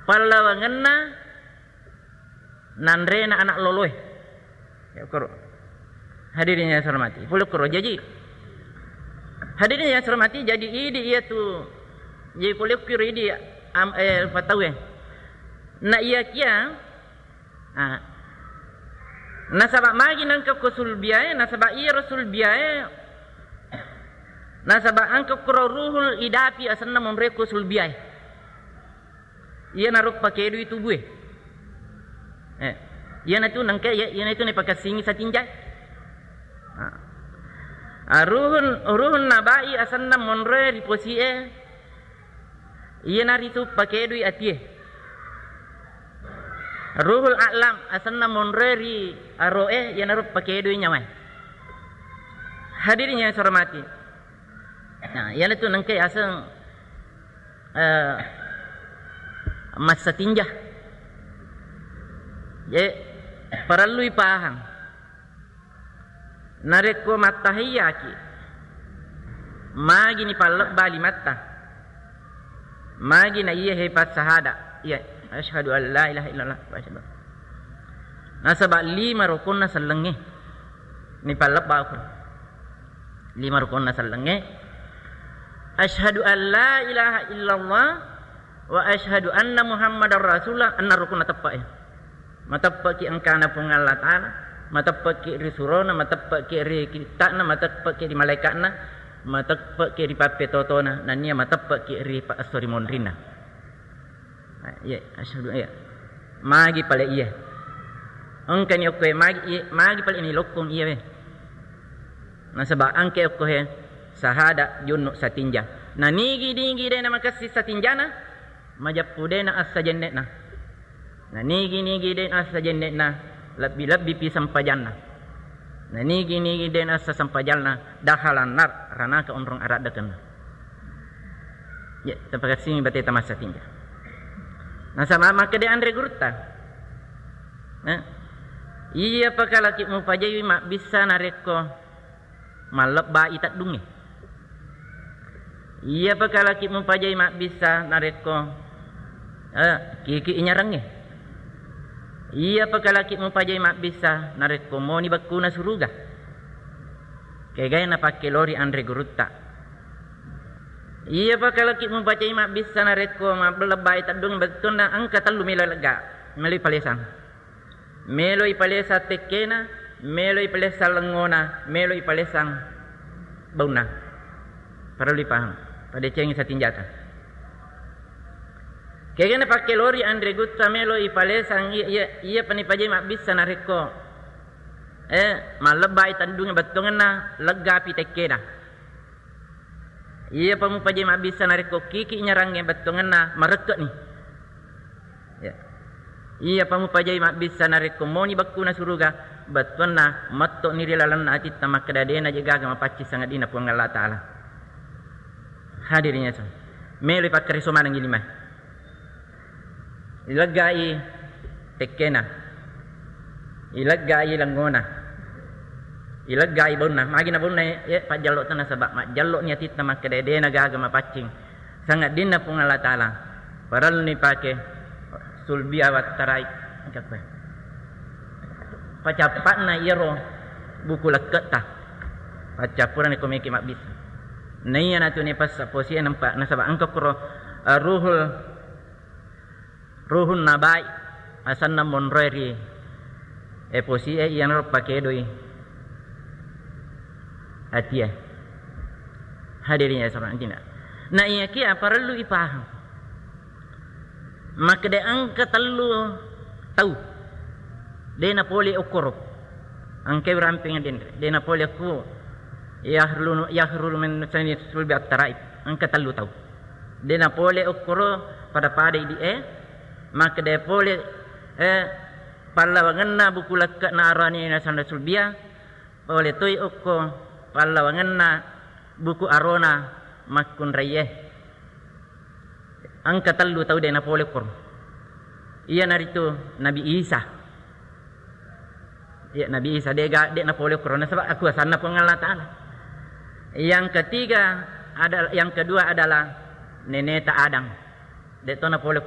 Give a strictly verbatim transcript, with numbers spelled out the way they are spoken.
pallawangenna nanrena anak loloe. Ya, koro. Hadirin yang saya hormati. Pole koro. Jadi, hadirin yang saya hormati, jadi idi iya tu, jadi pole koro idi am, eh, patawe. Na iya kia, ah, nasaba magi nangka ko sulbiae, nasaba iya ro sulbiae, nasaba angka koro ruhul idapi asenna monre ko sulbiae. Iyanaro pakedui tubue. Eh, iyanatu nengka iya, iyanatu naipakessingi satinja. Ah. Ah, ruhun, ruhun nabai asenna monroe ri posie, iyanaritu pakedui atie. Ruhul a'lam asenna monroe ri aroe, iyanaro pakedui nyawae. Hadirin yang saya hormati. Nah, iyanatu nengka aseng eh, massatinja. Je, parellui pahang. Narekko mattahiyyaki, magi ni pallebba limatta? Magi na iya he passahada? Iya, asyhadu an la ilaha illallah wa asyhadu. Nasaba lima rukonna sellengnge ni pallebba ko. Lima rukonna sellengnge. Asyhadu an la ilaha illallah wa asyhadu anna Muhammadar Rasulullah, enna rukunna teppe'e. Mateppeki engkana Puang Allah Ta'ala, mateppeki ri surona, mateppeki ri kitta'na, mateppeki ri malaika'na, mateppeki ri pappetotona, nennia mateppeki ri pa-, esso ri monrinna. Iya, asyhadu, iya. Magi pale iya. Engkani okkoe magi, iya, magi pale ni lokkong iya we. Nasaba engka okko he sahada junnu satinja. Na nigi-nigi de na makessi satinjana, majeppu de na assa jenne'na. Na nigi-nigi de na assa jenne'na, lebbi-lebbi pi sempajanna. Na nigi-nigi de na assa sempajanna, dahalan nar ranaka onrong araddakenna. Ya, tapakassingi bateta massatinja. Nasaba makkeda anre gurutta. Eh? Iya pakalaki mupajai mabbissa narekko mallebbai teddungnge. Iya pakalaki mupajai mabbissa narekko, eh, kiki inyarangnge. Iya pakalaki mupajai mabbissa narekko moni bekkuna suruga. Kegai napakkelori anre gurutta. Iya pakalaki mupajai mabbissa narekko mallebbai teddung bettunna engka tellu melo lega, melo ipalesang. Melo ipalesang tekkena, melo ipalesang lengngona, melo ipalesang baunna. Parellu ipahang. Padecengi satinjata. Kegana pakkelori anre gutta melo ipalesang iya, iya, iya pani pajai mabbissa narekko, eh, mallebbai teddungnge bettuangenna, leggapi tekkena. Iyapa mupajai mabbissa narekko kiki nyarangnge bettuangenna marekke'ni. Ya. Iyapa mupajai mabbissa narekko moni bekkuna suruga bettuanna metto'ni ri lalenna atitta makkeda de'na je gaga mapaccing sangadinna Puang Allah Ta'ala. Hadirin ya, melo ipakkareso manengngi limae. Ileggai tekkena, ileggai lengngona, ileggai baunna. Magi na baunna, ye, pajjallo tana, saba majjallo ni atitta makkeda de'na gaga mapaccing sangadinna Puang Allah Ta'ala. Parellu ni pake sulbi awattarai. Engka koe. Pacappa'na iyaro buku lekke'ta. Paccappurani ko meki mabbissa. Naiya natuni passa posie nempa, nasaba engka kuro, eh, ruhul Ruhun nabai asenna monroe ri, e, posie iyanaro pakedoi atie. Hadirin ya, sahabat, na iyakiya parellu ipahang. Makkeda engka tellu tau de napole okkoro. Engka urampeng denre, de napole okko yahrulu, yahrulu min sani sulbi attaraib. Engka tellu tau. De napole okkoro pada-pada idi e, makkeda pole, eh, pallawangenna buku lekke'na arane nasanda sulbia, pole toi okko pallawangenna buku arona makkunraiye. Engka tellu tau de napole okkoro. Iyanaritu Nabi Isa. Ya, Nabi Isa de ga, de napole okkoro nasaba akuasanna Puang Allah Ta'ala. Yang ketiga ada, yang kedua adalah neneta Adam. De to napole